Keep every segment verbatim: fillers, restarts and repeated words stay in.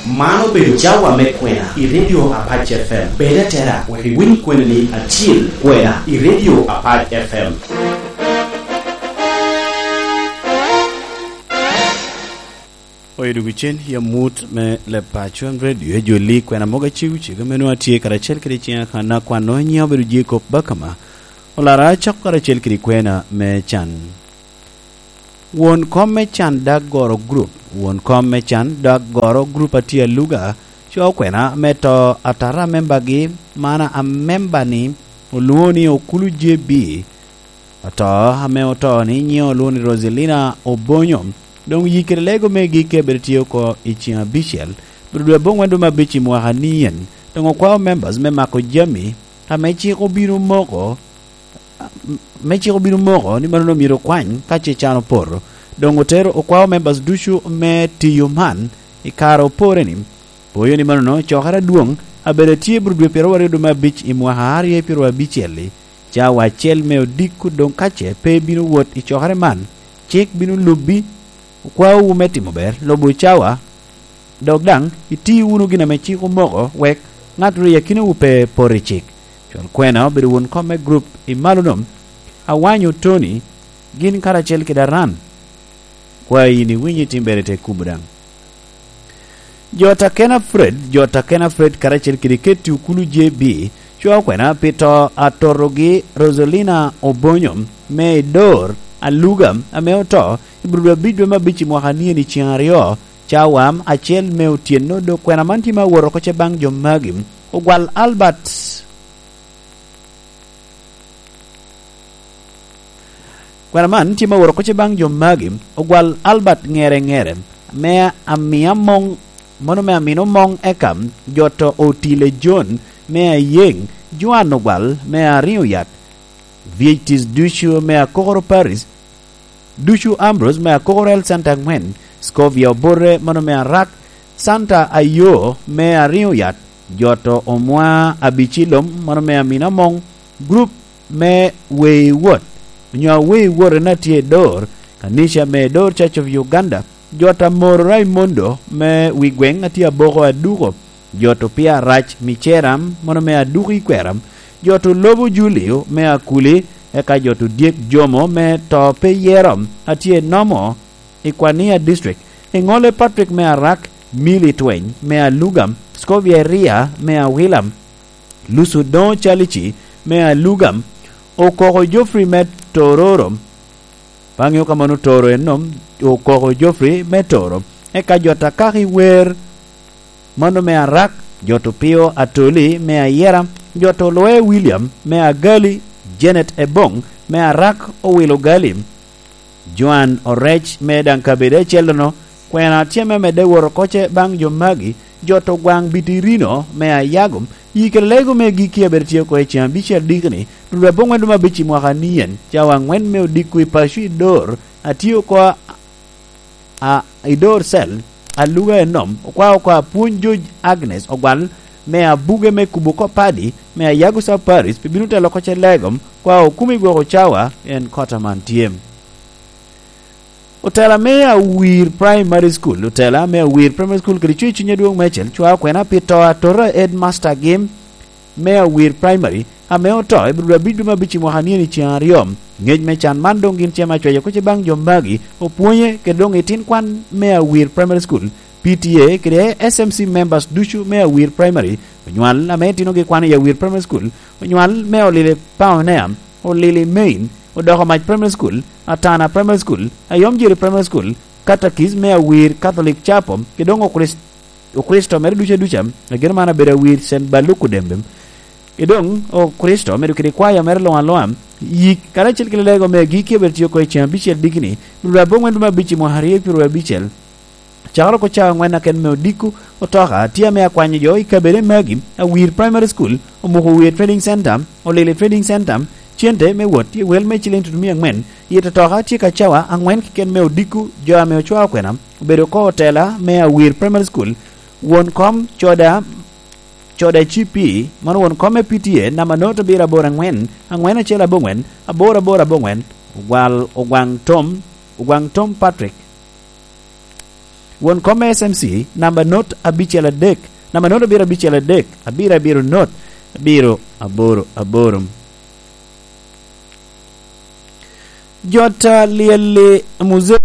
Man obedo cawa me kwena i Radio Apac F M. Bed atera wek iwiny kweni-ni acil kwena i Radio Apac F M. Oyo dwogo cen i amut me Leb Paco en Radio, ejoli kwena mogo acego cego me nwoŋo atye karacel kede ciŋa kan akwano nyiŋa obedo Jacob Bakama. Olara acako karacel kede kwena me can. Won kom me can Dag Goro Group. Won kom me can Dag Goro Group atye aluga, co kwena me to atata a membagi, man a memba-ni olwoŋo ni Okulu J B. Oto ame oto ni nyiŋe olwoŋo ni Roselina Obonyo. Doŋ yikere lego me gik abiro tye oko i ciŋ abicel, biro dwe aboŋwen dwe me abic i mwaka ni en. Doŋ okwao members me mako jami ame cik obino moko, me cik obino moko ni mano myero okwany ka ce can opoto. Doŋ otero okwao members ducu me tiyo man i kare opore-ni. Poyo ni manono, cokere adwoŋ abedo tye bro dwe pyeraryo aryo dwe me abic i mwaka aryo i pyeraryo abicel-li, cawa acel me odiko. Doŋ ka ce pe bino wot i cokere man, cik bino lubbi, okwaowu me timo ber, lubo cawa, dok daŋ iti wunu gin ame cik omoko, wek ŋat ru i akinawu pe pot i cik. Col kwena obedo won kom me grup i malo nom, Awanyo Tony, gin karacel kede Aran. Kwayi ni winyi timbere te kubo daŋ. Jo Takena Fred, jo Takena Fred karacel kede Ketty Okulu J B, cwao kwena pi to a totogi Roselina Obonyo me i Dor Aluga ame oto i bro dwe abic dwe me abic i mwaka ni en i ciŋ aryo, cawa acel me otyeno. Dok kwena man tye me awot oko ce baŋ jo magi. Ogwal Albert Kwena man tye me woro kocce baŋ jo magi, ogwal Albert Ŋere Ŋere, me Amina Moŋ, mano me Amina Moŋ eka, joto Otile John, me Ayeŋ, Joan Ogwal, me Ariŋo Yat, V H Ts ducu me Akokoro Paris, ducu Ambrose me Akokoro Health Center aŋwen, Scovia Obote, mano me Arak, Santa Ayo, me Ariŋo Yat, joto Omwa Abicilom, mano me Amina Moŋ, gurup me Wei Wot, onyo Awei Wot en atye i Dor, kanica me Dor Church of Uganda, jot Amoro Raimondo me wi gweŋ atye aboko aduko, jot Opia Rac Miceram, mano me aduko i Kweram, jot Olobo Julio me Akuli, eka jot Odyek Jomo me to pe yero atye i Nomo i Kwania District, Eŋole Patrick me Arak, Milly Tweny me Alugam, Scovia Eria me Awilam, Lusu Doŋo Calici me Alugam, Okoko Geoffrey me Tororo, pe aŋeo ka mano Toro en nom, Okoko Geoffrey me Toro, eka jot Akaki Wer, mano me Arak, jot Opio Atoli me Ayera, jot Oloe William me Agali, Janet Ebong me Arak, Owilo Gali, Joan Orec me daŋ kabedo acel-lono, kwena tye me medde wot oko ce baŋ jo magi, jot Ogwaŋ Bitirino me Ayago, yi kede lego me gikki abedo tye oko i ceŋ abicel diki-ni, ruru aboŋwen dum abic i mwaka ni en, cawa aŋwen me odiko i paco i Dor, atye oko a, a, i Dor Cell, Aluga enom, okwao oko apwony George Agnes Ogwal, me abuge me kubo kop padi, me Ayago Sub Parish, pi bino telo oko ce lego, kwao okumi gwoko cawa, en kota man tye. Otela me Awir Primary School, otela me Awir Primary School kede cwer cuny adwoŋ meicel cwao kwena pi to atota headmaster gi me Awir Primary ame oto i bro abic dwe me abic i mwaka ni en i ceŋ aryo. Ngec me can man doŋ gin ce me acweco kocce baŋ jo magi, opwonye kede doŋ itin kwan me Awir Primary School, P T A kede S M C members ducu me Awir Primary, onywal ame itinogi kwano i Awir Primary School, onywal me Olili Pioneer, Olili Main, Odoko Mac Primary School, Atana Primary School, Ayomjiri Primary School, Katakis me Awir Catholic Chapel, kede doŋ Okrist-, Okricito mere duca duca, ageno man abedo Awir Saint Baluku Dembe, kede doŋ Okricito mere kede kwaya mere luŋ aluŋa, yik karacel kede lego me giki abedo tye oko i ceŋ abicel dikini, ruru aboŋwen dum abic i mwaka aryo i pyeraryo abicel. Cakere oko cawa aŋwen aken me odiko, otoka tye ame akwanyo jo i kabede magi, Awir Primary School, Omuko Wiye Trading Center, Olili Trading Center, cente me wot tye wel me ciliŋ tutumia aŋwen, i totoka tye ka cawa aŋwen keken me odiko, jo ame ocwao kwena, obedo oko otela me Awir Primary School, won kom Coda, Coda C P, mano won kom me P T A, namba note abiro aboro aŋwen, aŋwen acel aboŋwen, aboro aboro aboŋwen, Ogwal Ogwaŋ Tom, Ogwaŋ Tom Patrick. Won kom me S M C, namba not abicel adek, namba not abiro abicel adek, abiro abiro not, abiro aboro aboro. Jot a lyel-li muzee.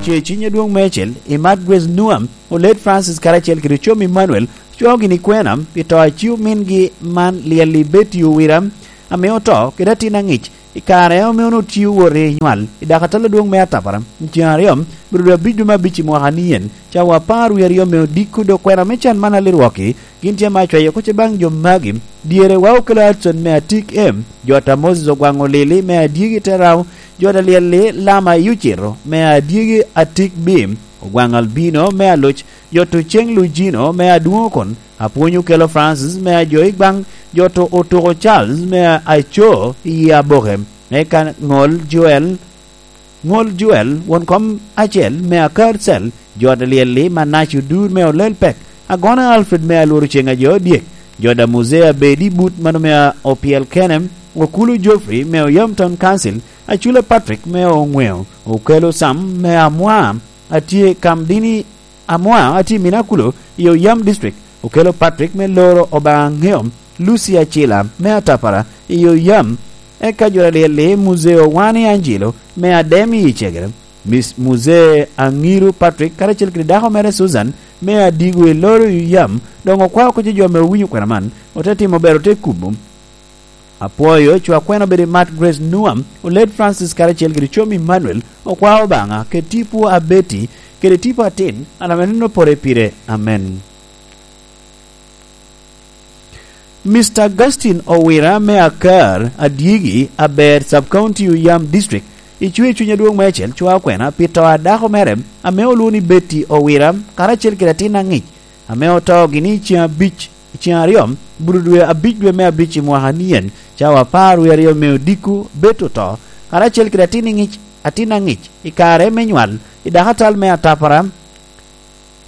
Ce ciny adwoŋ meicel, i Mat Grace Nuam, Oled Francis karacel kede Ocom Emmanuel, cwao gini kwena pi to a ci omingi man, lyel-li Betty Owira, ame oto kede atin aŋic, i kare ame onwoŋo tye owot i nywal, i dakatal adwoŋ me Atapara, i ceŋ aryo, biro dwe abic dwe me abic i mwaka ni en, cawa apar wie aryo me odiko, dok kwena me can man a Lirwoki, gin tye ame acwayo oko ce baŋ jo magi. Dyere wa okelo Hudson me Atik M, jot a Moses Ogwaŋ Olili me Adyegi Terao, jot a lyel-li Lama i Ocito me Adyegi Atik B, Ogwaŋ Albino me Aloc, jot Oceng Lujino me Adwoŋokon, Apwony Okelo Francis me Ajo i Gbaŋ, jot Otuko Charles me Aco i Aboke, eka Ŋol Joel, Ŋol Joel, won kom acel me Akar Cell, jot a lyel-li Manac Odur me Olel Pek, Agona Alfred me Alworo Ceŋ Ajo Dyek, jot a Muzee Abedi But mano me Opyel Kene, Okulu Geoffrey me Oyam Town Council, Acula Patrick me Oŋweo, Okelo Sam me Amwa, atye Kamdini Amwa, atye i Minakulo i Oyam District, Okelo Patrick me Loro Obaŋa Ŋeo, Lucy Acila me Atapara i Oyam, eka jot a lyel-li Muzee Owani Angelo me Adem i Icegere, Miss Muzee Aŋiru Patrick karacel kede dako mere Susan me Adigo i Loro i Oyam, doŋ okwao oko ce jo ame owinyo kwena man, ote timo ber, ote kubo. Apwoyo cwa kwena obedo i Mat Grace Nuam, Oled Francis karacel kede Ocom Emmanuel, okwao Obaŋa, kede tipo a Betty, kede tipo atin, an ame neno pore pire. Amen. Mister Augustine Owira me Akar, Adyegi, Aber, Sub-County Oyam District, icwe cuny adwoŋ meicel cwao kwena pi to a dako mere, ame olwoŋo ni Betty Owira, karacel kede atin aŋic, ame oto gini i ceŋ abic, i ceŋ aryo, buto dwe abic dwe me abic i mwaka ni en, cawa apar wie aryo me odiko, Betty oto, karacel kede atin iŋic, atin aŋic, i kare me nywal, i dakatal me Atapara.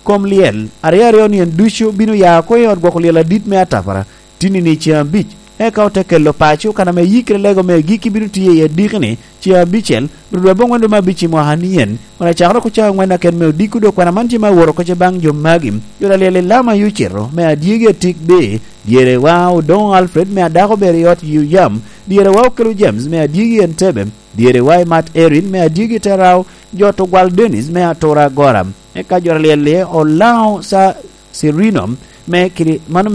Kom lyel aryo aryo-ni en ducu bino ya oko i ot gwoko lyel adit me Atapara, tinni-ni i ceŋ abic, eka ote kelo paco kan ame yikere lego me agikki bino tiyo i adiki-ni, ceŋ abicel, rudwa aboŋwen dwe me abic i mwaka ni en, kun acakere oko cawa aŋwen aken me odiko, dok kwena man tye me aworo oko ce baŋ jo magi, jot a lyel i Lama i Ocito, me Adyegi Atik B, dyere wa Odoŋo Alfred me Adako Ber i ot Yuyam, dyere wa Okelo James me Adyegi Entebbe, dyere wa i Mat Erin me Adyegi Terao, jot Ogwal Dennis me Atura Agora, eka jot a lyel-li Olaŋo Sa-, Sirino me Kiri-, mano